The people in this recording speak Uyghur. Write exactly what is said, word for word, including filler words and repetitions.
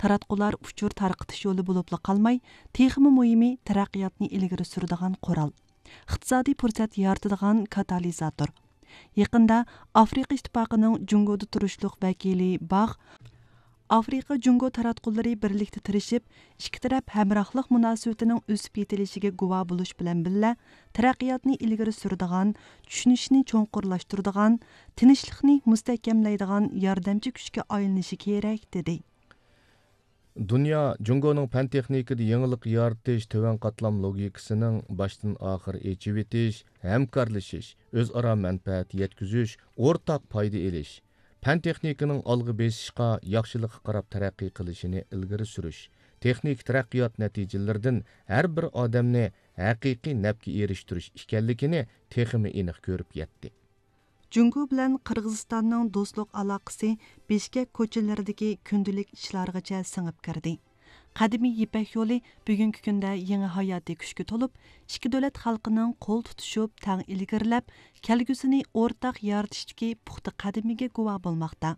تاراتقۇلار ئۇچۇر تارقىتىش يولى بولۇپلا قالماي، تېخىمۇ مۇھىمى، تەرەققىياتنى ئىلگىرى سۈرىدىغان قورال، ئىقتىسادىي پۇرسەت يارىتىدىغان كاتالىزاتور. يېقىندا ئافرىقا ئىتتىپاقىنىڭ جۇڭگودا تۇرۇشلۇق ۋەكىلى باخ، ئافرىقا جۇڭگو تاراتقۇلىرى بىرلىكتە تىرىشىپ، ئىككى تەرەپ ھەمراھلىق مۇناسىۋىتىنىڭ ئۆسۈپ يېتىلىشىگە گۇۋاھ بولۇش بىلەن بىللە، تەرەققىياتنى ئىلگىرى سۈرىدىغان، چۈشىنىشنى چوڭقۇرلاشتۇرىدىغان، تىنچلىقنى مۇستەھكەملەيدىغان ياردەمچى كۈچكە ئايلىنىشى كېرەك، دېدى. دۇنيا جۇڭگونىڭ پەن تېخنىكىدا يېڭىلىق يارىتىش، تۆۋەن قاتلام لوگىكىسىنىڭ باشتىن ئاخىر ئېچىۋېتىش، ھەمكارلىشىش، ئۆزئارا مەنپەئەت يەتكۈزۈش، ئورتاق پايدا ئېلىش، پەن تېخنىكىنىڭ ئالغا بېسىشقا، ياخشىلىققا قاراپ تەرەققىي قىلىشىنى ئىلگىرى سۈرۈش، تېخنىكا تەرەققىيات نەتىجىلىرىدىن ھەر بىر ئادەمنى ھەقىقىي نەپكە ئېرىشتۈرۈش ئىكەنلىكىنى تېخىمۇ ئېنىق كۆرۈپ يەتتى. جۇڭگو بىلەن قىرغىزىستاننىڭ دوستلۇق ئالاقىسى بىشكەك كوچىلىرىدىكى كۈندىلىك ئىشلارغىچە سىڭىپ كىردى. قەدىمىي يىپەك يولى بۈگۈنكى كۈندە يېڭى ھاياتىي كۈچكە تولۇپ، ئىككى دۆلەت خەلقىنىڭ قول تۇتۇشۇپ، تەڭ ئىلگىرىلەپ، كەلگۈسىنى ئورتاق يارىتىشتىكى پۇختا قەدىمىگە گۇۋاھ بولماقتا.